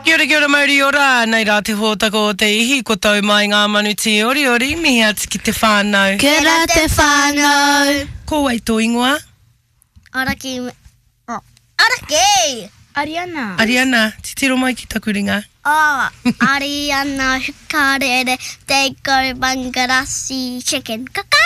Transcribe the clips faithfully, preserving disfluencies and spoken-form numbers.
Kia ora, kia ora, mauri ora. Nei rā te hōtaka o te ihi, ko tau mai ngā manu tīoriori, mihi atu ki te whānau. Kia ora te whānau. Ko wai tō ingoa? Araki. Oh. Araki! Ariana. Ariana, titiro mai ki taku ringa. Oh, Ariana Hukarere, te Bangarasi chicken. Kaka!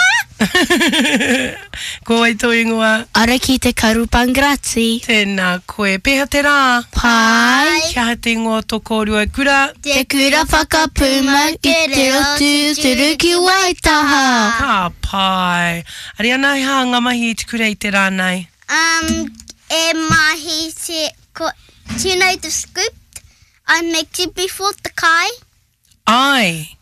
Ko wai tō ingoa? Araki te karu Bangarasi. Tēnā koe. Pēhea te rā? Pai. Kia aha te ingoa o tō kōrua kura? Te kura whakapūmau ki te reo tūturu ki Waitaha. Ka pai. Ariana, he aha ngā mahi i te kura i te rā nei? Um, e mahi te, ko, do you know the scoop? I make it before the kai. Ai.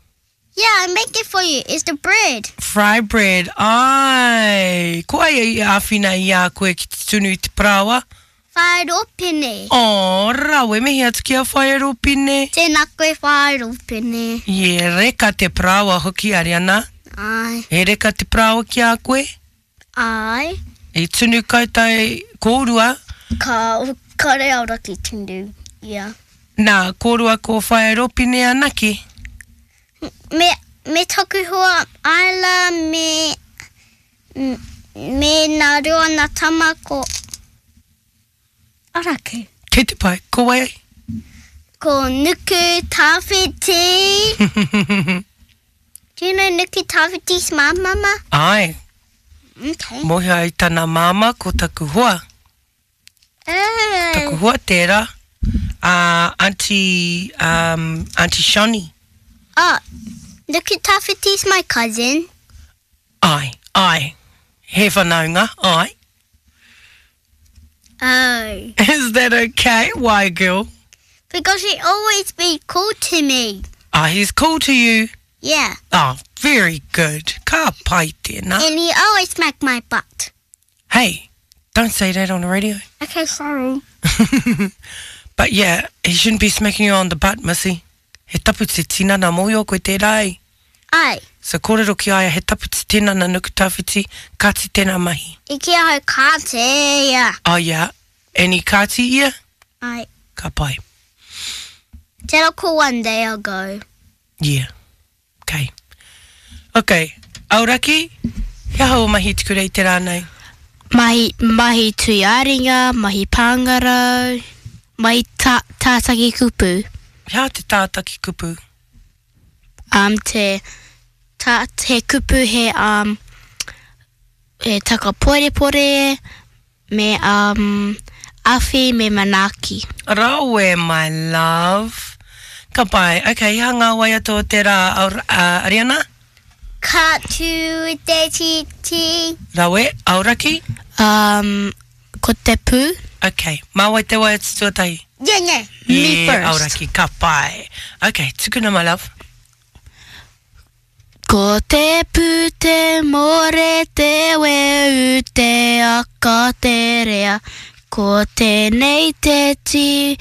Yeah, I make it for you. It's the bread. Fry bread. Ai. Ko ai i āwhina i a koe ki te tunu i te paraoa? Whaeropine. Oh, rawe, mihi atu ki a Whaeropine. Tēnā koe Whaeropine. Ye, reka te paraoa hoki, Ariana. Ai. He reka te paraoa ki a koe? Ai. I tunu koutou kōrua? Ka, kare auraki tunu, yeah. Nā, kōrua ko Whaeropine anake? Me, me taku hoa Ayla me, me nā rua nā tama ko Araki. Kei te pai, ko wai ai? Ko Nuku Tawhiti. Do you know Nuku Tawhiti's mum, mama? Ai. Okay. Mōhio ai tana māma ko taku hoa. Oh. Taku hoa tērā. Uh, Auntie, um, Auntie Shani. Oh, Nuku Tawhiti's my cousin. Ai, ai. He whanaunga, ai. Oh. Is that okay? Why, girl? Because he always be cool to me. Ah, he's cool to you? Yeah. Oh, very good. Ka pai tēnā. And he always smack my butt. Hey, don't say that on the radio. Okay, sorry. But yeah, he shouldn't be smacking you on the butt, missy. He tapu te tinana mōhio koe tērā ai. Ai. So kōrero ki aia, he tapu te tinana Nuku Tawhiti, kāti tēnā mahi. I ki ahau kāti ia. Oh yeah, and i kāti ia? Ai. Ka pai. Tēnā ko one day I'll go. Yeah. Okay. Okay. Auraki, he aha o mahi te kura i te rā nei? Mahi, mahi tui āringa, mahi pāngarau, mahi ta, tātaki kupu. He aha te tātaki kupu? Um, te, ta, te kupu he, um, he takaporepore, me, um, awhi, me manaaki. Rawe, my love. Ka pai. Okay, he aha ngā waiata o te rā, Aur, uh, Ariana? Ka tū te titi. Rawe, Auraki? Um, ko te pū. Okay, mā wai te waiata tuatahi? Yeah, yeah. Me Yeah, first. Auraki, ka pai. Okay, tukuna, my love. Ko te pū te more te weu te aka te rea. Ko tēnei te tī